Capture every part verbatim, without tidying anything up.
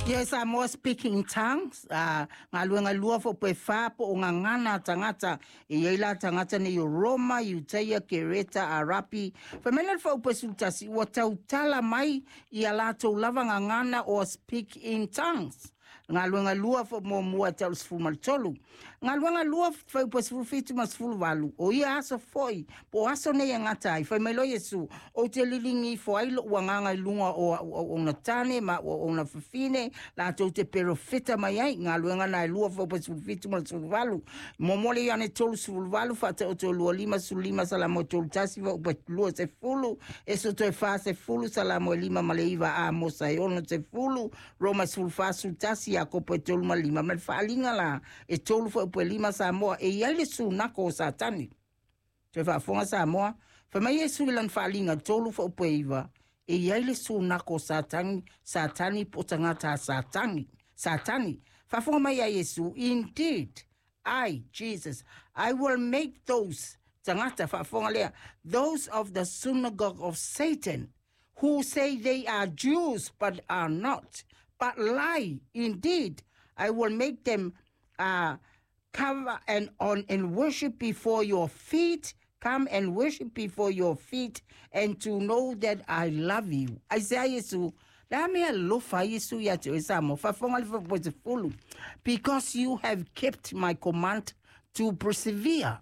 Ia Samoa, speaking in tongues, uh, galuega lua fuaiupu fa po o gagana a tagata e i ai la tagata nei o Roma, Iutaia, Kereta, Arapi. Fai mai le fuaiupu sefulutasi ua tautala mai ia latou lava gagana o speak in tongues. Galuega lua fo muamua tau sefulu ma le tolu. Galuega lua fuaiupu sefulu fitu ma sefulu valu. O ia aso foi, po o aso nei e gata ai. Fai mai loa Iesu, ou te liligi ifo ai lo'u agaga i luga o a'u auauna tane ma a'u auauna fafine, latou te perofeta mai ai. Galuega na e lua fuaiupu sefulu fitu ma le sefulu valu. Muamua le Ioane tolu sefulu valu, faataoto lua lima sefulu lima, Salamo e tolu tasi fuaiupu lua sefulu, Esoto e fa sefulu, Salamo e lima ma le iva, Amosa e ono sefulu, Roma sefulu fa sefulu tasi, Iakopo e tolu ma lima. Ma le faaaliga la e tolu fuaiupu e lima Samoa, e i ai le sunako o Satani. Toe faafofoga Samoa, fai mai Iesu i lana faaaliga tolu fuaiupu e iva, e i ai le sunako o Satani, Satani po o tagata a Satani. Satani. Faafofoga mai a Iesu, indeed, I, Jesus, I will make those, tagata faafofoga lea, those of the synagogue of Satan, who say they are Jews but are not, but lie. Indeed, I will make them uh, cover and on and worship before your feet. Come and worship before your feet and to know that I love you. Isaiah Yesu, la mea alofa Iesu ia te oe Samoa. Faafofoga le fuaiupu sefulu. Because you have kept my command to persevere,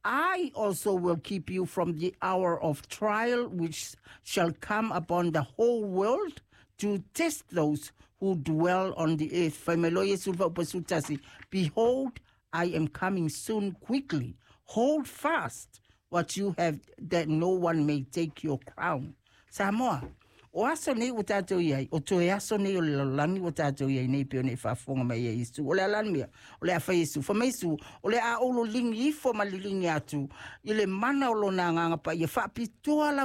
I also will keep you from the hour of trial which shall come upon the whole world to test those who dwell on the earth. Fai mai loa Iesu fuaiupu sefulutasi, behold, I am coming soon quickly. Hold fast what you have that no one may take your crown. Samoa, o aso nei ua tatou i ai, o toe aso nei o le lalolagi ua tatou i ai nei pei ona e faafofoga mai ai Iesu. O le a la le mea, o le a fai Iesu. Fai mai Iesu, o le a ou loligi ifo ma liligi atu i le mana o lona agaga paia faapitoa lava.